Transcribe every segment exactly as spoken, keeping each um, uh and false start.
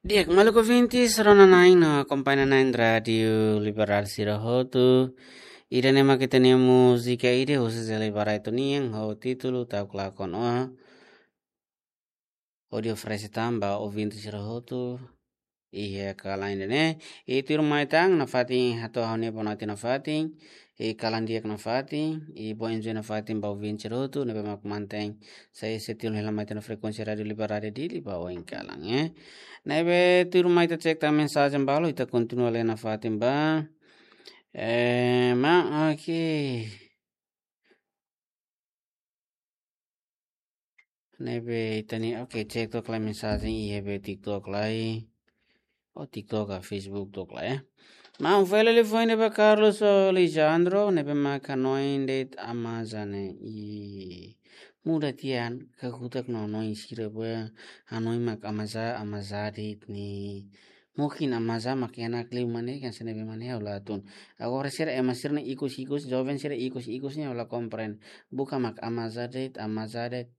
Di'ak, maluk ouvintes, rona-na'in no akompaña-na'in Rádiu Liberal sira hotu. Ida-ne'e mak ita-nia múzika ida husi Zé Liberato nian, ho títulu Ta'uk Lakon Ó. Hodi oferese tan ba ouvintes sira hotu iha kalan ida-ne'e. I tuirmai tan nafatin hato'o ha'u-nia bonatin nafatin, i kalan di'ak nafatin, i boa enjoy nafatin ba ouvintes sira hotu, ne'ebé mak mantein sai setia hela mai tan frekuénsia Rádiu Liberal Dili ba oin kalan, eh. Ne'ebé tuirmai ita cek tan mensajen balu, ita kontinua lee nafatin ba. Eh, ma, oke. Ne'ebé ita-nia, oke, cek took lai mensajen iha be TikTok lai. Oh, TikTok ka Facebook took lai, eh. Maun fali liafuan ne'ebé Carlos Alejandro, ne'ebé mak hanoin de'it Amazá ne'e. I muda tiha an kakutak no hanoin sira be hanoin mak Amazá, Amazá de'it ne'e. Mungkin Amazá mak enak liu mane kan sene be mane ha'u la hatún. Agora sira ema sira ne'e ikus-ikus, joven sira ikus-ikus ne'e ha'u la komprende. Buka mak Amazá de'it, Amazá de'it.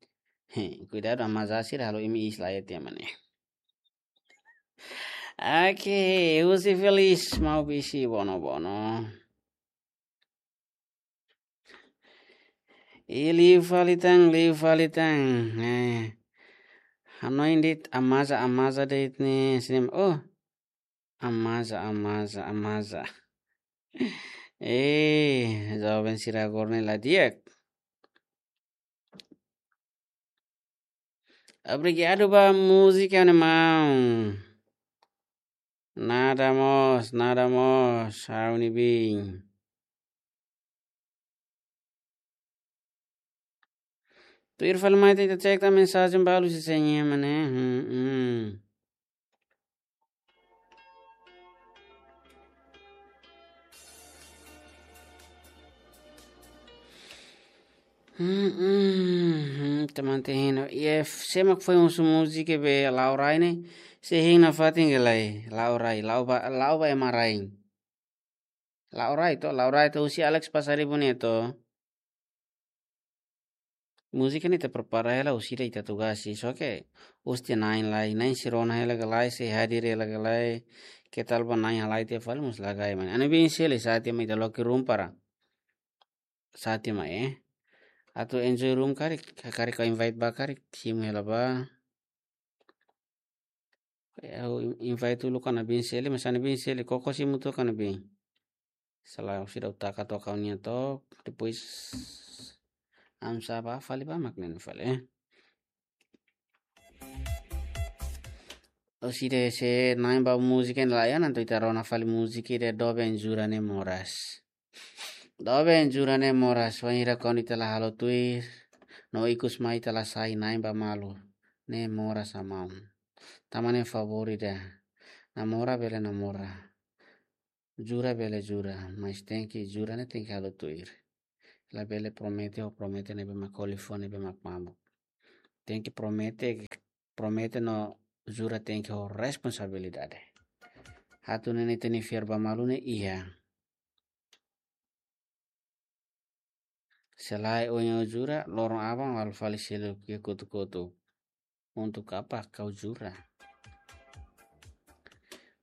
He, kuidadu Amazá sira halo imi iis lai tiha mane. Oke, husi Felis Maubisi Bono-Bono. I liu fali tan, liu fali tan. Eh, hanoin de'it Amazá, Amazá de'it ne'e, sini, oh, Amazá, Amazá, Amazá. Eh, joven sira agora ne'e la di'ak. Obrigadu ba múzika ne'e maun. Nada mós, nada mós, ha'u-nia biin. Tuir fali mai ita cek tan mensajen balu se senha mane. Hmm, hmm. Hmm, hmm, hmm, teman tehino. Iye, sé mak foin husu múzika be la'o rai ne'e. Sé hein nafatin ka lae, la'o rai, la'o ba, la'o ba ema rai. La'o rai to, la'o rai to husi Alex Pasaribu ne'e to. Múzika ne'e ita prepara hela husi ida ita tugas sih, só ke husi na'in lai, na'in sei rona hela ka lae, sei hadir hela ka lae, ke tal ba na'in halai tiha fali mós la gai mane. Anu bin seli sa'e tiha mai ita loke room para. Sa'e tiha mai, eh. Atu enjoy room karik, karik ka invite ba karik, simu hela ba. Ha'u in-, invite uluk Ana Bin seli, mas Ana Bin seli, koko simu took Ana Bin. Sala husi ida ha'u taka took ha'u-nia took, depois amsa ba fali ba mak ne'e fali, eh. Husi ida se na'in ba múzika ne'e la iha, entaun ita rona fali múzika ida Doben Jura Ne'e Moras. Doben Jura Ne'e Moras, wainhira kuandu ita la halo tuir, no ikus mai ita la sai na'in ba malu. Ne'e moras, maun. Tanba ne'e favór ida. Namora bele namora. Jura bele jura, mas tenke jura ne'e tenke halo tuir. Labele promete ho promete ne'ebé mak koli fó ne'ebé mak mamuk. Tenke promete, promete no jura tenke ho responsabilidade. Atu nune'e ita-nia fiar ba malu ne'e iha. Se lae ohin ha'u jura, loron aban ha'u fali selu ke kotu-kotu. Untuk apa kau jura?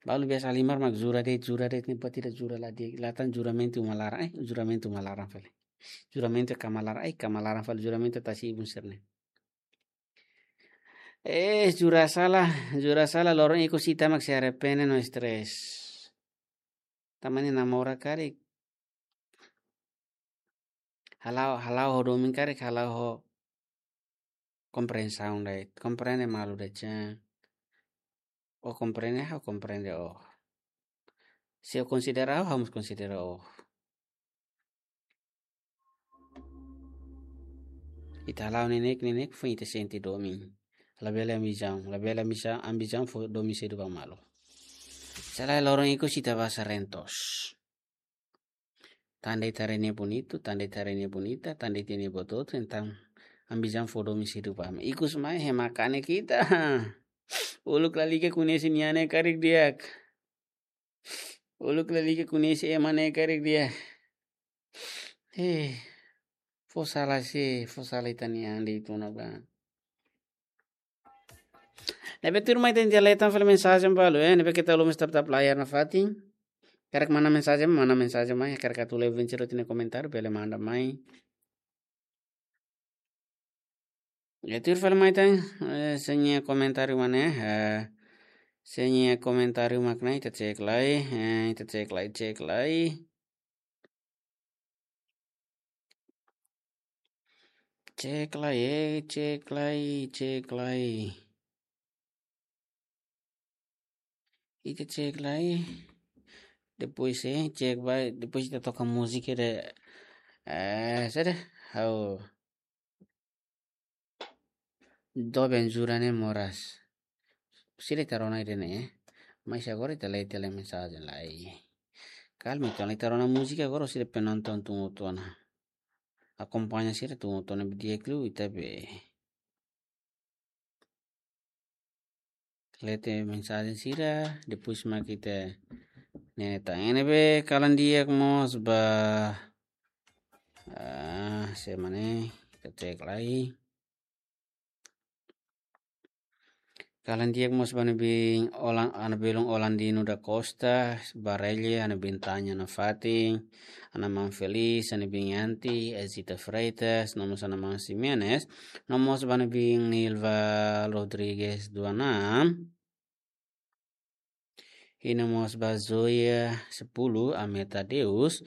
Balu biasa halimar mak jura de'it, jura de'it ne'e buat ida jura la di'ak, la tan juramentu uma laran, eh, juramentu uma laran fali. Juramentu kama laran, eh, kama laran fali juramentu tasi-ibun sira-ne'e. Eh, jura sala, jura sala, loron ikus ita mak sei arrepende no stress. Tanba ne'e namora karik. Hala'o, hala'o ho domin karik, hala'o ho komprensaun de'it. Komprende malu de'it, ya. Ó komprende, ha'u komprende ó. Se ó konsidera ha'u, ha'u mós konsidera ó. Ita hala'o neineik, neineik foin ita sente domin. Labele ambisaun, labele ambisaun, ambisaun fó domin sedu ba malu. Se lae loron ikus ita basa rentos. Tan de'it haree nia bonitu, tan de'it haree nia bonita, tan de'it nia bototo, entaun ambisaun fó domin sedu ba malu. Ikus mai hema kanek ita. Uluk lalika koñese nia ne'e karik di'ak. Uluk lalika koñese ema ne'e karik di'ak. Eh, fó sala sé, fó sala ita-nia an de'it ona ba. Ne'ebé tuirmai ita leten fali mensajen balu, eh, ne'ebé keta lubun tap-tap layar nafatin. Karik manda mensajen, manda mensajen mai, karik atu leu vinte roti ne komentar, bele manda mai. Ya, tuir fali mai tan, eh, sira-nia komentáriu mana, eh, sira-nia komentáriu mak ne'e, ita cek lai, eh, ita cek lai, cek lai. Cek lai, eh, cek lai, cek lai. Ita cek lai. Depois, eh, cek ba, depois ita toka múzika de, eh, saida? Ha'u. Doben jura ne'e moras. Sira ita rona ida-ne'e, eh. Mas agora ita leten mensajen lai. Kalma, ita rona múzika agora sira penonton tun hotu ona. Akompaña sira tun hotu ona, be di'ak liu ita be leten mensajen sira, depois mak ita ne'e tan. Ne'ebé kalan di'ak mós ba, ah, semana ita cek lai. Kalan di'ak mós ba ne'ebé Olan-, ana belun Olandino da Costa, Barelle, ana belun Tanya nafatin, ana maun Feliz, ana belun Yanti, Ezita Freitas, no mós ana maun Ximenes, no mós ba ne'ebé Nilva Rodrigues Duanam. I no mós ba Zoya Sepuluh, Ameta Deus,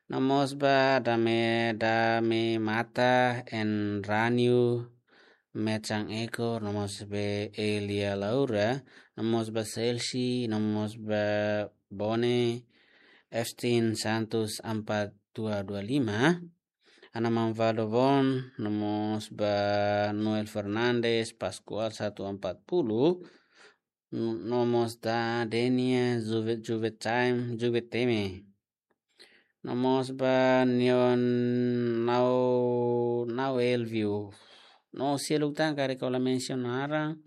no mós ba Dame, Dame Mata, Enranio, Mecang Eko, no mós ba Elia Laura, no mós ba Selsi, no mós ba Bone, Eftin Santos empat dua dua lima, Ana Manvaldo Von, no mós ba Noel Fernandes, Pascual satu empat puluh, no mós ba Denia, Juve, Juve Time, Juve Teme. No mós ba Neon Nau, Nau Elvio. No seluk tan karik ha'u la mensiona naran,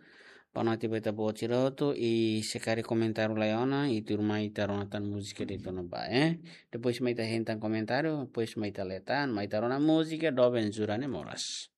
ba no ati beta boci roto, i se karik komentáriu lai ona, i tuirmai ita rona tan múzika de'it ona ba, eh. Depois mai ita hein tan komentáriu, depois mai ita leten, mai ita rona múzika, Doben jura ne'e moras.